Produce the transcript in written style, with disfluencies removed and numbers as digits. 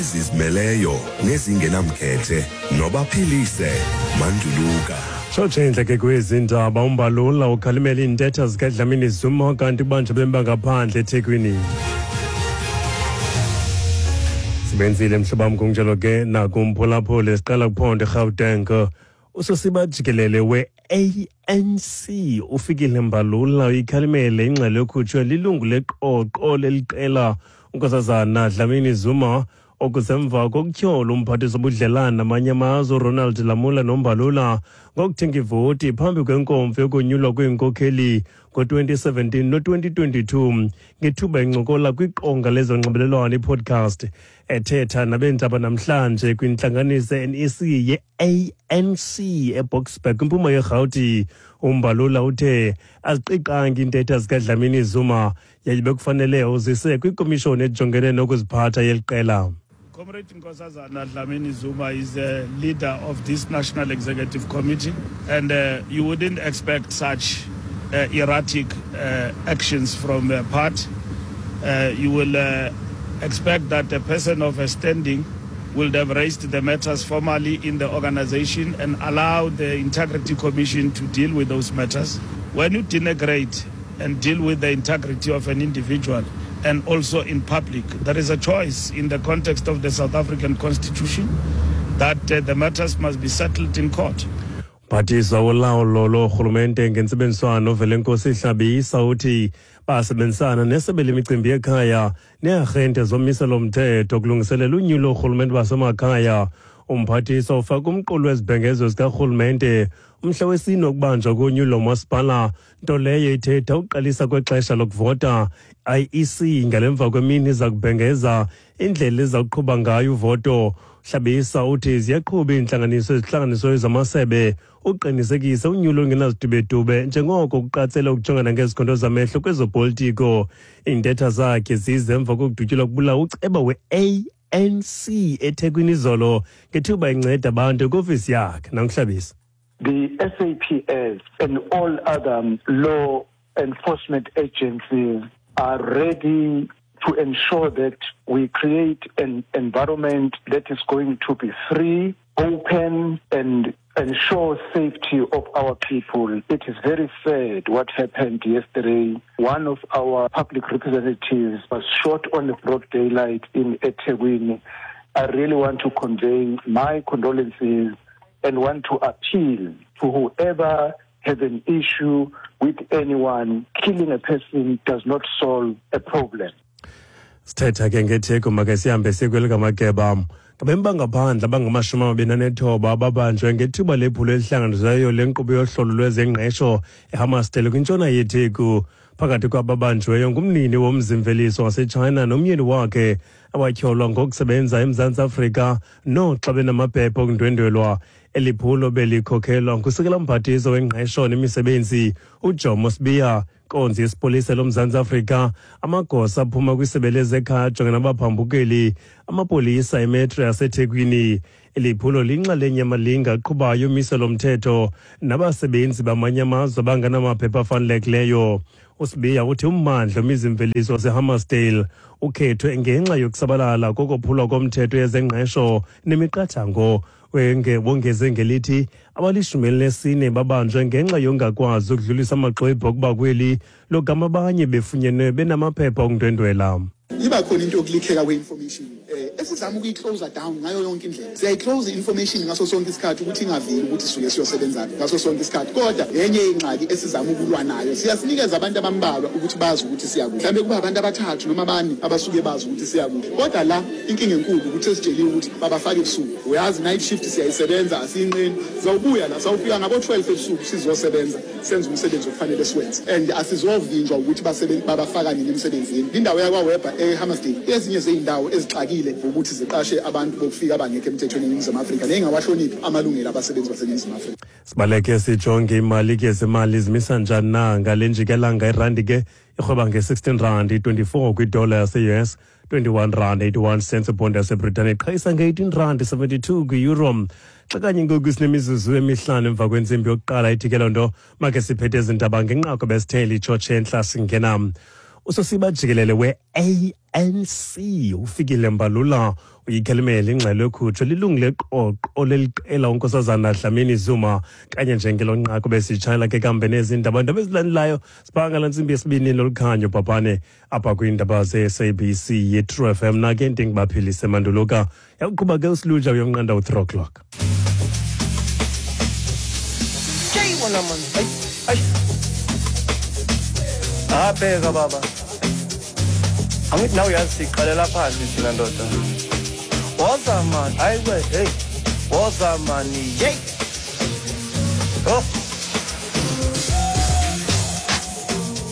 Ezizimeleyo nezingenamkhethe nobaphilise manduluka. Tshotshe intle ke kwezi ndaba uMbalula ukhalimela iintetha zikaDlamini Zuma kanti ubanjwe bemba ngaphandle eThekwini. Sibenzile mhlobo kunjalo ke nakumphulaphuli siqala kuphondo eGauteng. Usosiba jikelele we-ANC uFikile Mbalula uyikhalimele ingxelo ekhutshwe lilungu leqoqo leliqela uNkosazana Dlamini Zuma okusemva kokutyhola umphathiswa obudlelane namanye amazwe uRonald Lamola noMbalula ngokuthenga ivoti phambi kwenkomfa yokonyulwa kweenkokheli ngo-2017 no-2022 ngethuba encokola kwiqonga lezonxibelelwano i-podcast. Ethetha nabeendaba namhlanje kwintlanganiso ye-NEC ye-ANC eBoksburg kwimpuma yeRhawuti, uMbalula uthe aziqiqangi iintetha zikaDlamini Zuma yaye bekufanele uzise kwikomishoni ejongene nokuziphatha yeli qela. Comrade Nkosazana Dlamini Zuma is the leader of this National Executive Committee, and you wouldn't expect such erratic actions from her part. You will expect that a person of her standing will have raised the matters formally in the organization and allow the Integrity Commission to deal with those matters. When you denigrate and deal with the integrity of an individual, and also in public, there is a choice in the context of the South African Constitution that the matters must be settled in court. Mphathiswa wolawulo loorhulumente ngentsebenziswano Velenkosi Hlabisa uthi basebenzisana nesebe lemicimbi yekhaya neearhente zomiselo mthetho kulungiselela unyulo loorhulumente basemakhaya. Umphathiswa ufaka umqulu wezibhengezo zikarhulumente umhla wesine wokubanjwa konyulo lomasipala, nto leyo ithetha ukuqalisa kwexesha lokuvota. IEC ngalemva kwemini iza kubhengeza indlela eza kuqhuba ngayo uvoto. Hlabisa uthi ziyaqhuba iintlanganiso ezihlanganisweyo zamasebe uqinisekisa unyulo olungenazidubedube njengoko kuqatsela ukujongana ngezikhondo zamehlo kwezopolitiko. Iintetha zakhe zize emva kokudutyulwa kubulawa uceba we-ANC eThekwini izolo ngethuba enceda abantu kwiofisi yakhe. NanguHlabisa. The SAPS and all other law enforcement agencies are ready to ensure that we create an environment that is going to be free, open, and ensure safety of our people. It is very sad what happened yesterday. One of our public representatives was shot on the broad daylight in eThekwini. I really want to convey my condolences and want to appeal to whoever has an issue with anyone. Killing a person does not solve a problem. Sithetha ke ngetheko make sihambe sikwelikamageba. Ngabemi bangaphandle abangamashumi amabini anethoba ababanjwe ngethuba lephulo elihlanganisiweyo lenkqubo yohlolo lwezengqesho eHammarsdale kwintshona yeTheku. Phakathi kwababanjweyo ngumnini womzimveliso waseChina nomyeni wakhe abatyholwa ngokusebenza eMzantsi Afrika noxa benamaphepha okundwendwelwa. Eli phulo belikhokhelwa ngusekela mphathiswa wengqesho nemisebenzi uJomo Sibiya, inkonzo yesipolisa loMzantsi Afrika, amagosa aphuma kwisebe lezekhaya ajongene nabaphambukeli, amapolisa emetro yaseThekwini. Eli phulo linxalenye yamalinge aqhubayo umiselo mthetho nabasebenzi bamanye amazwe abangenamaphepha afanelekileyo. USibiya uthi ummandla wemizimveliso waseHammarsdale ukhethwe ngenxa yokusabalala kokophulwa komthetho yezengqesho nemiqathango. Wongeze ngelithi abalishumi elinesine babanjwe ngenxa yongakwazi ukudlulisa amaxwebhu okuba kweli, logama abanye befunyenwe benamaphepha okundwendwela. Iba khona into yokulikheka kwe-information esizama ukuyi-close down ngayo yonke indlela. Siyayi-close i-information ngaso sonke isikhathi ukuthi ingaveli ukuthi sisuke siyosebenza ngaso sonke isikhathi, kodwa yenye ingxaki esizama ukulwa nayo. Siyasinikeza abantu abambalwa ukuthi bazi ukuthi siyakuphi, mhlawumbe kuba abantu abathathu noma abane abasuke bazi ukuthi siyakuphi, kodwa la inkinga enkulu ukuthi esitsheliwe ukuthi babafake ebusuku. Uyazi, night shift siyayisebenza, asiyinqeni. Sizawubuya la, sawufika ngabo-12 ebusuku sizosebenza, senze umsebenzi okufanele siwenze, and asizovinjwa ukuthi babafaka nini emsebenzini. Indawo yakwaWeber eHammarsdale ezinye zey'ndawo ezixakile ukuthi ziqashe abantu bokufika abangekho emthethweni eNingizimu Afrika ney'ngawahloniphi amalungelo abasebenzi baseNingizimu Afrika. Sibaleke sijonge imali ke, zemali zimisa njani na ngale njikelanga. Irandi ke irhweba nge-16 rand 24 kwidola yase-US, 21 rand 81 cents ibhondi yaseBritane, iqhayisa nge-18 rand 72 kwi-euro. Xa kanye ngoku sinemizuzu emihlanu emva kwentsimbi yokuqala, ithi ke loo nto make siphethe ezi ndaba ngenqaku besithele itshotshe entla singena. Usosiba jikelele we-ANC uFikile Mbalula uyikhalimele ingxelo ekhutshwe lilungu leqoqo leliqela uNkosazana Dlamini Zuma. Kanye njengelo nqaku besitshayela ke kambe nezi ndaba ndaba ezilandelayo sibhanga la ntsimbi yesibini lolukhanyo bhabhane apha kwiindaba ze-SABC ye-True FM. Nake ndingubaphilise Manduluka, yakuqhuba ke usiluja uyonqanda u-3 o'clock. Wona man, ayi ayi, abheka baba, angithi nawe uyazi siqalela phansi thina ndoda. Woza man, hayi we, hey, woza mani, hey, oh.